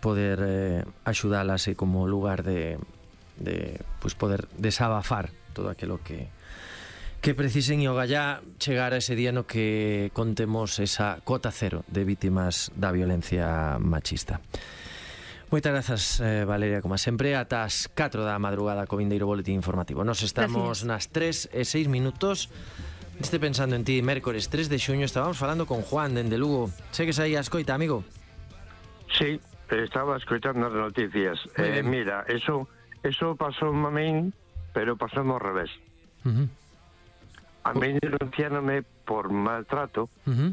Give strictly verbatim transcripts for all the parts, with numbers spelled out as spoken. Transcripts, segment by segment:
poder eh, axudalas e como lugar de, de pues poder desabafar todo aquilo que que precisen e o gallá chegar a ese día no que contemos esa cota cero de vítimas da violencia machista. Moitas grazas, eh, Valeria, como sempre. Ata as catro da madrugada co vindeiro boletín informativo. Nos estamos Gracias. Nas tres e seis minutos. Este Pensando en ti, mércores tres de xuño. Estábamos falando con Juan dende Lugo. Segues aí a escoita, amigo? Sí, estaba escoitando as noticias. Eh, mira, eso eso pasou a min, pero pasou ao revés. Uh -huh. A min denunciánome por maltrato uh -huh.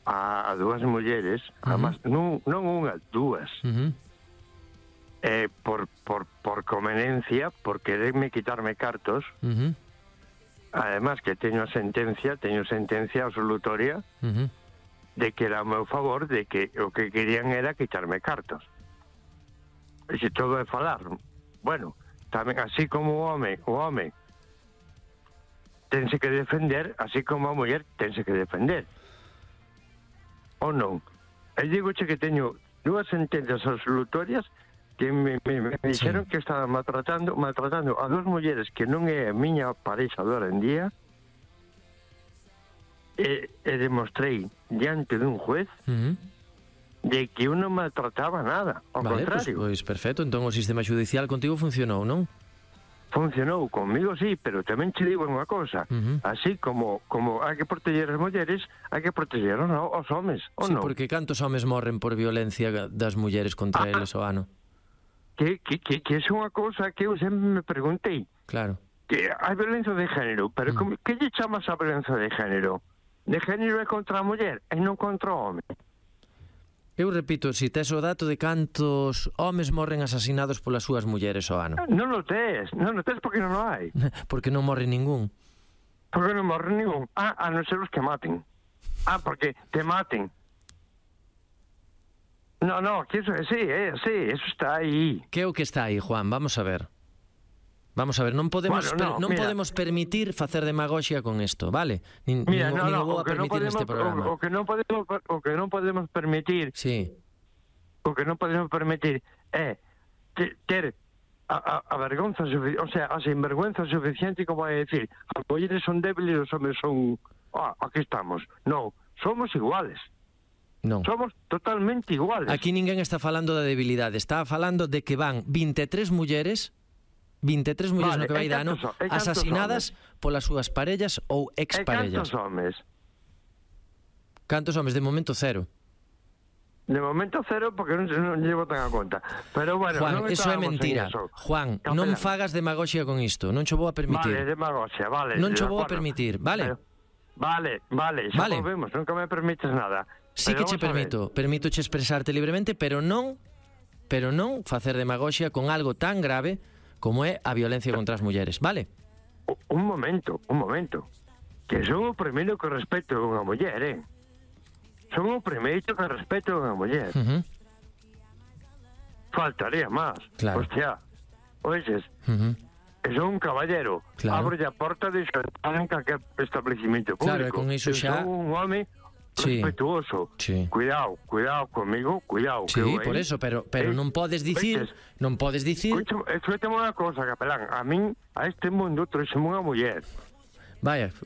a, a dúas mulleres, uh -huh. además, non, non unha, dúas, uh -huh. eh, por, por, por conveniencia, por quererme quitarme cartos, uh -huh. además que teño sentencia, teño sentencia absolutoria, uh -huh. de que era a meu favor, de que o que querían era quitarme cartos. E se todo é falar, bueno, tamén así como o home, o home tense que defender, así como a muller tense que defender. Ou non? Eu digo che que teño dúas sentencias absolutorias que me, me, me dixeron sí. que estaban maltratando, maltratando a dúas mulleres que non é a miña pareja de hora en día, e, e demostrei diante dun juez uh -huh. de que eu non maltrataba nada, ao vale, contrario. Pois, pois perfecto, entón o sistema judicial contigo funcionou, non? Funcionou, conmigo sí, pero tamén che digo unha cosa, uh -huh. así como como hai que proteger as mulleres, hai que proteger os, os homes, ou sí, non? porque cantos homes morren por violencia das mulleres contra ah, eles o ano? Que, que, que, que é unha cosa que eu sempre me preguntei. Claro. Que hai violencia de género, pero uh -huh. como, que lle chamas a violencia de género? De género é contra a muller e non contra o home. Eu repito, si tes o dato de cantos homes morren asasinados polas súas mulleres ao ano. Non o tes, non o tes porque non o hai. Porque non morre ningún. Porque non morre ningún. Ah, a non ser os que maten. Ah, porque te maten. No, no, que eso, sí, eh, sí, eso está aí. Que é o que está aí, Juan? Vamos a ver. Vamos a ver, non podemos bueno, no, per, non mira, podemos permitir facer demagoxia con isto, vale? Nin, mira, nin, no, nin no, o vou a permitir no podemos, neste programa. O, o que non podemos o que non podemos permitir. Sí. O que non podemos permitir é ter a, a, a vergonza, o sea, a sinvergüenza suficiente como vai decir, as mulleres son débiles e os homes son, ah, aquí estamos. Non, somos iguales. Non. Somos totalmente iguales. Aquí ninguén está falando da debilidade, está falando de que van vinte e tres mulleres vinte e tres mulleres vale, no que vai de ano asasinadas homes? Polas súas parellas ou exparellas. E cantos homes? Cantos homes? De momento cero. De momento cero porque non, non llevo tan a conta. Pero bueno, Juan, non eso é mentira. Juan, Capelán. Non fagas demagoxia con isto. Non cho vou a permitir. Vale, demagoxia, vale. Non cho vou a permitir, vale? Pero, vale, vale, xa vale. Volvemos, nunca me permites nada. Sí pero que che permito, permito che expresarte libremente, pero non pero non facer demagoxia con algo tan grave como é a violencia contra as mulleres, vale? Un momento, un momento. Que son o primeiro que respeto a unha muller, eh? Son o primeiro que respeto a unha muller. Uh -huh. Faltaría máis. Claro. Hostia, oixes, uh -huh. que son un caballero. Claro. Abre a porta de xantar en calquer establecimiento público. Claro, e con iso xa... Son un home... Sí. respetuoso. Sí. Cuidado, cuidado comigo, cuidado. Sí, que por eso, pero pero eh, non podes dicir, Oiches, non podes dicir. Escúchame unha cosa, Capelán, a min a este mundo trouxeme unha muller. Vaya,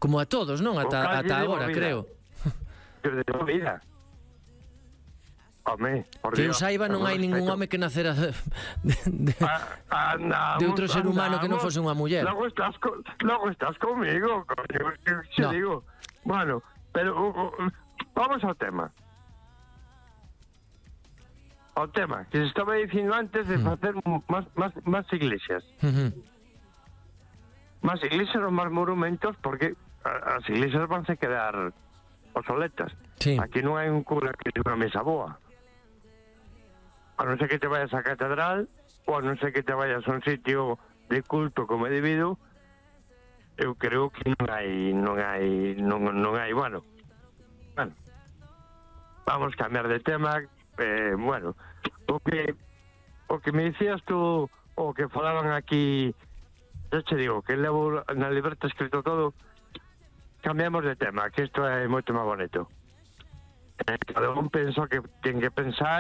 como a todos, non? Ata ata agora, creo. De vida. Home, por que eu saiba non hai ningún home que nacera de, de, ah, andamos, de outro ser humano andamos, que non fose unha muller. Logo estás, co, logo estás comigo, coño, que no. digo. Bueno, pero uh, uh, vamos ao tema. Ao tema que se estaba dicindo antes de mm. facer máis máis máis iglesias. Uh -huh. Máis iglesias ou máis monumentos porque as iglesias vanse quedar obsoletas. Sí. Aquí non hai un cura que tenga unha mesa boa. A non ser que te vayas á catedral ou a non ser que te vayas a un sitio de culto como é debido. Eu creo que non hai non hai non, non hai, bueno. Bueno. Vamos a cambiar de tema, eh, bueno, o que o que me dicías tú o que falaban aquí, eu che digo que levo na libreta escrito todo. Cambiamos de tema, que isto é moito máis bonito. Eh, cada un pensa que ten que pensar